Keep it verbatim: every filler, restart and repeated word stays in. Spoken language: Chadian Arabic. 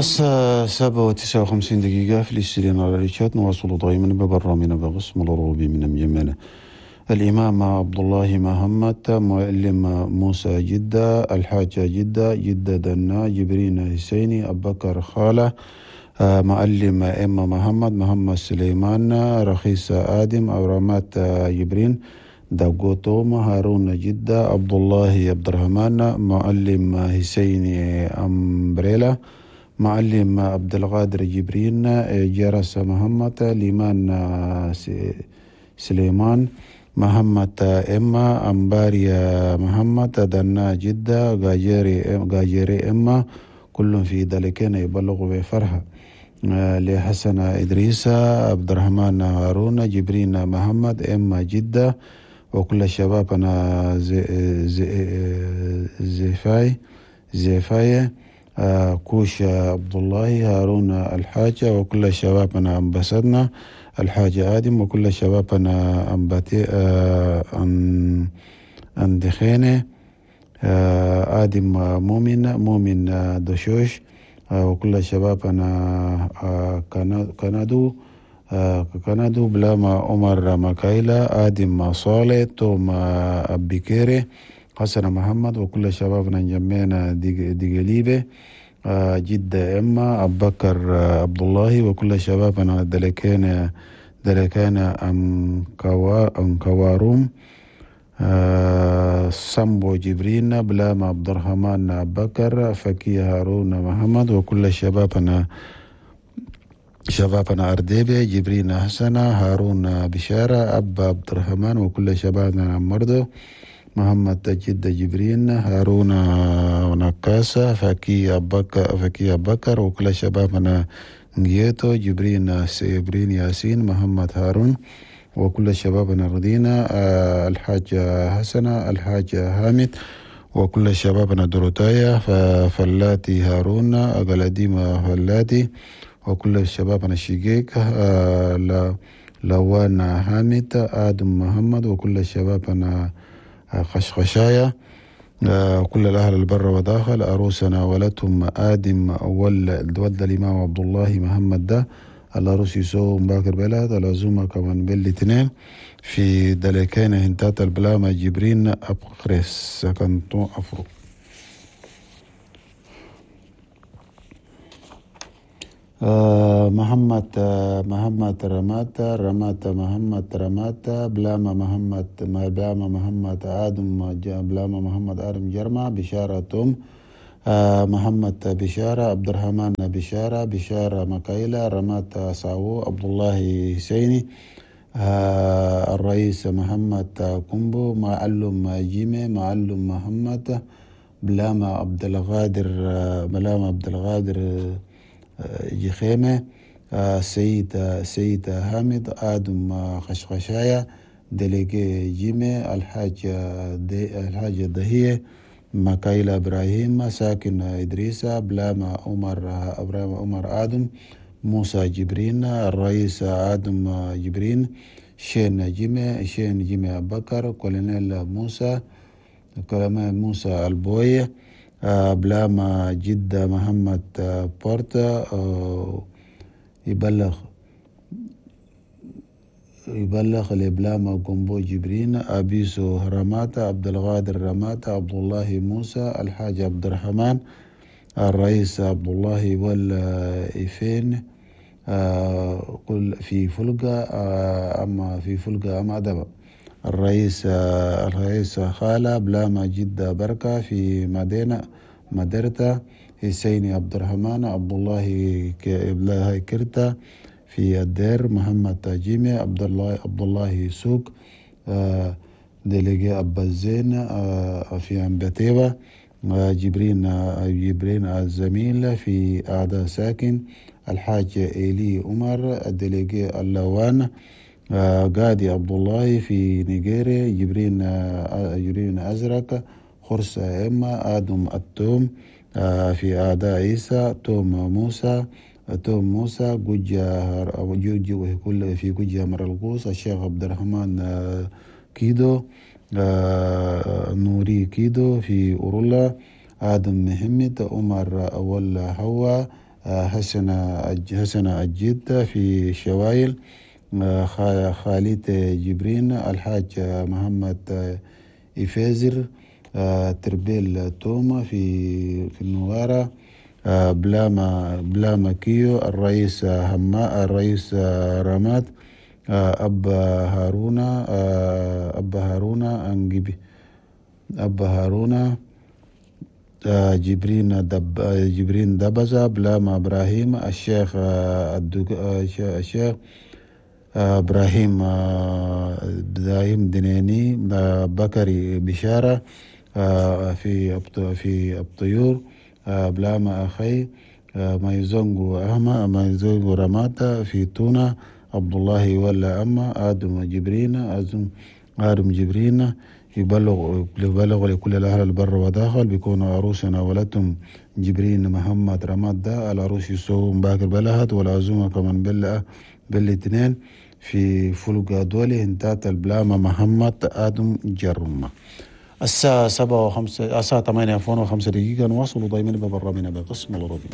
الساعة سبعة وتسعة وخمسين دقيقة في الاستديو على ريتشات. نواصل دائما ببرنامجنا بقسم الروبي من مجمعنا. الإمام عبد الله محمد، معلم موسى جدة، الحاجة جدة، جدة دنا، جبرين حسيني، أبو بكر خالة، معلم إما محمد، محمد سليمان، رخيص آدم، أورامات جبرين، دقو توما، هارون جدة، عبد الله عبد الرحمن، معلم حسيني أمبريلا، معلم عبد القادر جبرين، جرس محمد، ليمان سليمان، محمد إما، أمباريا محمد، دنا جدة، غاجيري غاجيري إما، كلهم في ذلك يبلغوا بفرحة لحسن إدريس، عبد الرحمن هارون، جبرين محمد، إما جدة، وكل الشباب أنا زي زي زيفاي زيفاي كوش عبد الله، هارون الحاجة، وكل الشباب أنا أنبسطنا الحاج آدم، وكل الشباب أنا أنبتي أن أندخينة آدم مؤمن مؤمن دشوش، وكل الشباب أنا كندو كندو بلاما عمر مكايلة، آدم صالح، توم أبيكيري، حسن محمد، وكل الشباب نجمعنا دقليبة جدة إما، أبو بكر عبد الله، وكل الشباب أنا دلكان دلكان أم كوا أم كواروم، سامبو جبرين، بلاما عبد الرحمن أبو بكر، فكي هارون محمد، وكل الشباب أنا شبابنا أرديبي، جبرين حسن، هارون بشارة، أبا عبد الرحمن، وكل شبابنا مردو، محمد جد جبرين، هارون ونكاسة، فكي أبكر فكي أبكر، وكل شبابنا نجيتو، جبرين جبرين ياسين، محمد هارون، وكل شبابنا ردينا، الحاج حسنة، الحاج حامد، وكل شبابنا دروتايا، فلاتي هارون، أقلديم فلاتي، وكل شبابنا الشقيق، لوان حامد، آدم محمد، وكل شبابنا خشخشايا، كل الأهل البر وداخل، أروسنا ولدهم آدم ولد الإمام عبد الله محمد ده الأروس يسو مباكر بلاد العزومة كمان بالاثنين في دلكين هنتات البلامة جبرين أبقرس سكنتو أفرو. محمد محمد رماتا رماتا محمد رماتا بلاما محمد بلاما محمد آدم بلاما محمد آدم جرما، بشارة توم، محمد بشارة، عبد الرحمن بشارة، بشارة مكايلة، رماتا ساو، عبد الله حسيني، الرئيس محمد كومبو، معلم جيمي، معلم محمد، بلاما عبد القادر بلاما عبد القادر جخيمة، سيد سيد حامد، آدم خشخشايا، دليجي جيمي، الحاج الحاج دهية، مكايلة إبراهيم، ساكن إدريسة، بلاما عمر إبراهيم عمر آدم، موسى جبرين، الرئيس آدم جبرين، شين جيمي شين جيمي أبو بكر، كولونيل موسى كولونيل موسى البوي، بلاما جدة محمد بورتا، يبلغ يبلغ لبلاما جومبو جبرين، أبيسو رماتا، عبد القادر رماتا، عبد الله موسى، الحاج عبد الرحمن، الرئيس عبد الله والإفين، كل في فلقة أما في فلقة أما دبا، الرئيس الرئيس خالة، بلاما جدة بركة في مدينة مدرتا، حسين عبد الرحمن، عبد الله كرتا في الدير، محمد جيمي، عبد الله عبد الله سوق، ديليجي أبا الزين في أمبتيبة، جبرين جبرين الزميل في أعداء ساكن، الحاج إيلي عمر، الديليجي اللوان، قادي عبد الله في نيجيريا، جبرين جبرين أزرق، خرسة إما، آدم التوم في أعداء عيسى، توم موسى توم موسى، جوجا جوجي كل في جوجا مرلقوس، الشيخ عبد الرحمن كيدو، نوري كيدو في أورولا، آدم محمد، عمر أول حوا، حسن حسن الجد في شوايل، خالد جبرين، الحاج محمد إفيزر، تربيل توما في في النوارة، بلاما بلاما كيو، الرئيس هما الرئيس رماد، أبا هارونا أبا هارونا أنجبي أبا هارونا جبرين دب جبرين دبزة، بلاما إبراهيم، الشيخ الشيخ إبراهيم إبراهيم دنيني، بكري بشارة في في الطيور، بلاما أخي مايزونغو أهما مايزونغو رماتا في تونا، عبد الله ولا أما آدم جبرين آدم جبرين يبلغ يبلغ لكل الأهل البر وداخل بيكونوا عروسنا ولدتم جبرين محمد رماد ده العروس يسوم باكر بلهت، والعزومة كمان بال بالاثنين في فلقة دولي انتات البلامة محمد آدم جرمة. الساعة سبعة وخمسة الساعة ثمانية وخمسة دقيقة نواصل دايما ببرامجنا بقسم العربي.